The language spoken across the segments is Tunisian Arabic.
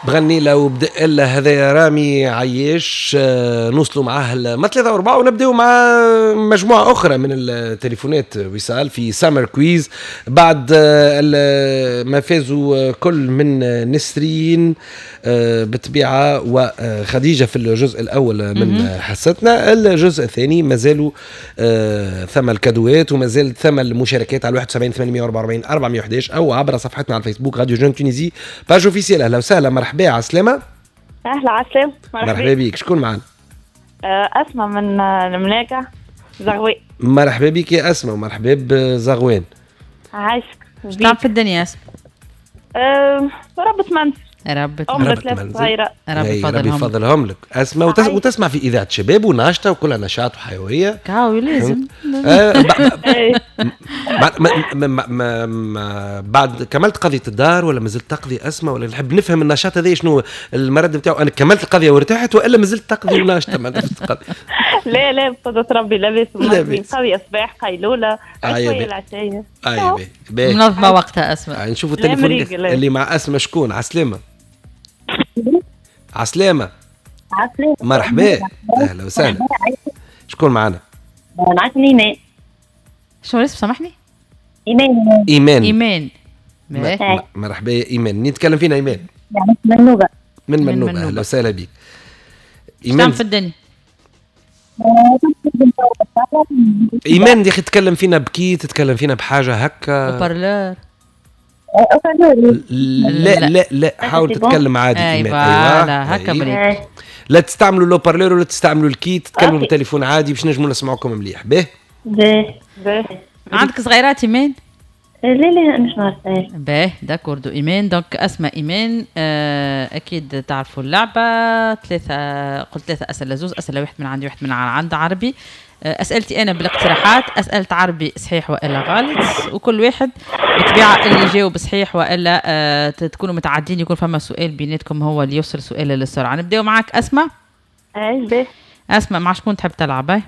بغني له وبدأ له هذا رامي عياش. نوصلوا معاه ما 3 و4 ونبداو مع مجموعة أخرى من التليفونات وصال في Summer Quiz بعد ما فازوا كل من نسرين بالطبيعة وخديجة في الجزء الأول من حصتنا. الجزء الثاني مازالوا ثم الكادوات ومازال ثم المشاركات على 71 844 411 أو عبر صفحتنا على الفيسبوك راديو Jeune Tunisie page officielle. اهلا وسهلا، مرحبا، على السلامة. اهلا، على السلامة. مرحبا بك، شكون معنا؟ اسماء من المناقع زغوان. مرحبا بك يا اسماء ومرحبا بزغوان. عايشك. اش تعمل في الدنيا اسماء؟ ربة منزل. ربة أم ثلاث صغيرة. ربي ربي يفضلهم لك أسماء. وتسمع في إذاعة شباب وناشطة وكلها نشاط وحيوية. كاو لازم. بعد كملت قضية الدار ولا مازلت تقضي أسماء؟ ولا نحب نفهم النشاط هذا شنو المرد نتاعو؟ أنا كملت القضية وارتحت وإلا مازلت تقضي وناشطة؟ لا لا بقدرة ربي لاباس، قضية صباح قيلولة عشوية العشية. منظمة وقتها أسماء. نشوفوا التليفون اللي مع أسماء شكون. عسلامة. عسلامة. عسلامة. مرحبا، أهلا وسهلا. شكون معنا؟ معك إيمان. شنو الاسم سامحني؟ إيمان. إيمان. إيمان. مرحبا يا إيمان، منين تكلم فينا إيمان؟ من منوبة. من منوبة، أهلا وسهلا بك. إيمان في الدنيا. إيمان يا أخي تتكلم فينا بكي، تتكلم فينا بحاجة هكا. haut-parleur. لا لا لا، حاول تتكلم عادي. ايوه هكا مريض. لا تستعملوا le haut-parleur ولا تستعملوا ال kit، تتكلموا بالتليفون عادي باش نجموا نسمعوكم مليح. باه باه. عندك صغيرات ايمان؟ لا لا مش عارفه. باه d'accord ايمان. donc اسماء ايمان اكيد تعرفوا اللعبة. ثلاثة، قلت ثلاثة اسئلة، زوز اسئلة، واحد من عندي واحد من عند عربي. اسئلتي انا بالاقتراحات، اسئلة عربي صحيح والا غلط، وكل واحد بالطبيعة اللي يجاوب صحيح والا تكونوا متعدين يكون فما سؤال بيناتكم هو اللي يوصل سؤال للسرعه. نبداو معاك اسماء. اي باهي. اسماء مع شكون تحب تلعب؟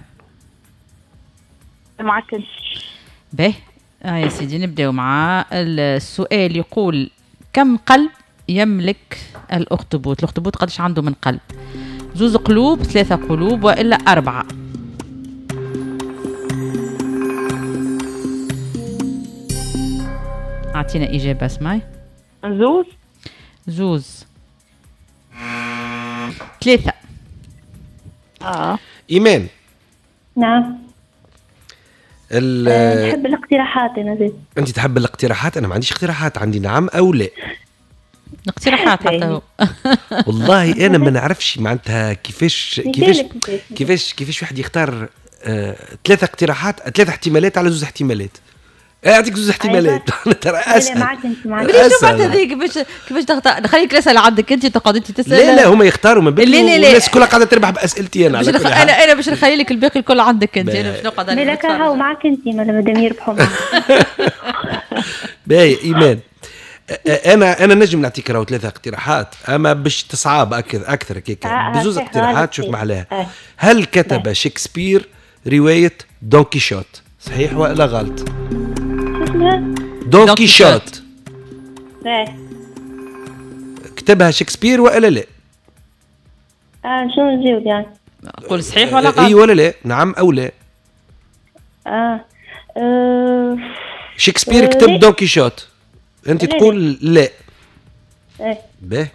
معاك انت. باهي يا سيدي نبداو مع السؤال. يقول كم قلب يملك الاخطبوط؟ الاخطبوط قداش عنده من قلب؟ زوز قلوب، ثلاثة قلوب، والا 4؟ أعطينا إجابة اسمعي. زوز. زوز. 3. إيمان. نعم. نحب الاقتراحات أنا زيد. أنت تحب الاقتراحات؟ أنا ما عنديش اقتراحات، عندي نعم أو لا. اقتراحات حتى هو. والله أنا ما نعرفش معناتها كيفاش كيفاش كيفاش كيفاش واحد يختار 3 اقتراحات، 3 احتمالات على 2 احتمالات. اعطيك 2 احتمالات. ترى اسهل. معاك انت معاك. شوف هذيك كيفاش تختار، خليك الاسئلة عندك انت تقعد انت تسال. لا لا هما يختاروا من بكري. الناس كلها قاعدة تربح باسئلتي انا. انا باش نخلي لك الباقي الكل عندك انت، انا باش نقعد انا. لا هاو معاك انت مادام يربحوا معاك. باهي ايمان، انا نجم نعطيك راهو 3 اقتراحات، اما باش تصعب اكثر كيك بزوز اقتراحات. شوف محلاها. هل كتب شكسبير رواية دون كيشوت؟ صحيح ولا غلط؟ دون كيشوت كتبها شكسبير ولا لا؟ شنو نجاوب يعني؟ قول صحيح ولا غلط؟ اي ولا لا؟ نعم او لا؟ شكسبير كتب دون كيشوت، انت تقول لا. باه،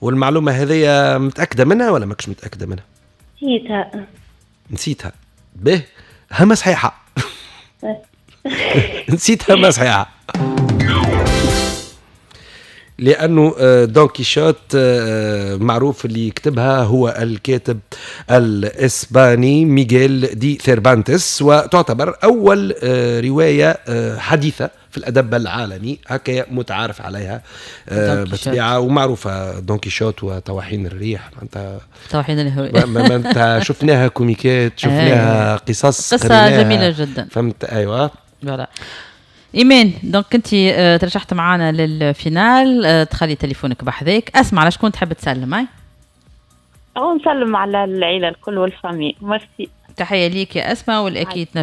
والمعلومة هذه متأكدة منها ولا ماكش متأكدة منها؟ نسيتها. نسيتها. باه، هما صحيحة. نسيتها ما صحيحة، لأنه دون كيشوت معروف اللي كتبها هو الكاتب الإسباني ميغيل دي ثيربانتس، وتعتبر أول رواية حديثة في الأدب العالمي هكا متعارف عليها بالطبيعة، ومعروفة دون كيشوت وطواحين الريح. معناتها طواحين الهواء معناتها شفناها كوميكات، شفناها قصص، قصة جميلة جدا. فهمت؟ أيوة voilà. ايمان donc انت ترشحت معنا لل finale، تخلي تليفونك بحذاك. اسمع على شكون تحب تسلم؟ هاي او نسلم على العيلة الكل وال famille. merci. تحية ليك يا اسماء، والاكيد نجم